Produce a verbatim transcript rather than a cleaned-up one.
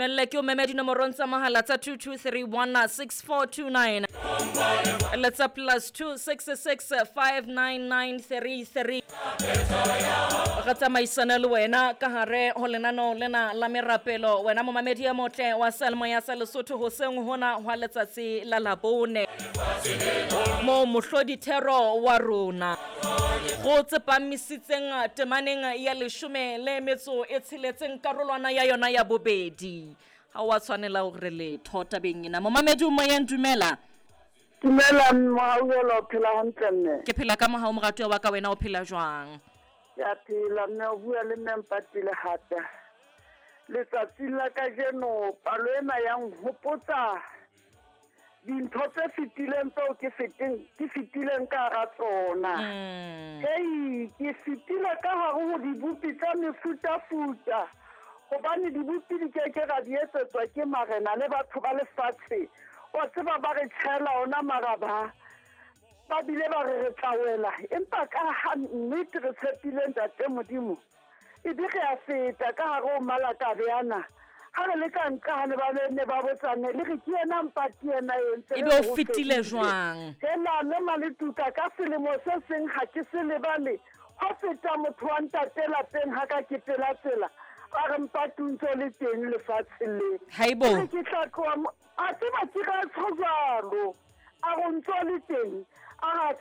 Melle ke o meme dinomorong tsa mohala tsa two two three one six four two nine le tsa plus two six six five nine nine three three. Re tsamaisana le wena ka hare ho lenaneo lena la merapelo, wena momamedi ya motle wa Seyalemoya sa Lesotho hoseng hona hwa letsatsi la Labone, mo mohlodi thero wa rona go tsepamisitseng temaneng ya leshome le metso e tsheletseng karolwana ya yona ya bobedi. Ha wa tshwanela hore letho tabeng ena. Momamedi o moyeng, dumela. Dumela Mohauelo, o phela hantle mme? Ke phela ka mohau moratuwa wa ka, wena o phela jwang? Ke a phela mme, o bua le mme Mpatile hape. Letsatsing la kajeno palo ena ya nhopotsa dintho tse fetileng tseo ke feteng, ke fetileng ka hara tsona. Mm. Hei, ke fetile ka hare ho dibopi tsa mefutafuta, hobane dibopi di ke ke ra di etsetswa ke marena le batho ba lefatshe. Wa tseba ba re tjhela ona maraba, ba bile ba re re tla wela, empa ka ha nnete re tshepile Ntate Modimo, e be re a feta ka hare ho malakabe ana. Ha re le ka nqa ha ne ba ne ba botsane, le re ke yena Mpati yena e ntse Ebe o fetile jwang? Hela mme Maletuka, ka selemo se seng ha ke se lebale, ho feta motho wa ntate lapeng ha ka ke pela tsela, a re Mpati o ntso le teng lefatsheng le. Haibo. Ke re ke tla tloha mo, a tseba ke ra tsho jwalo, a re o ntso le teng, a re a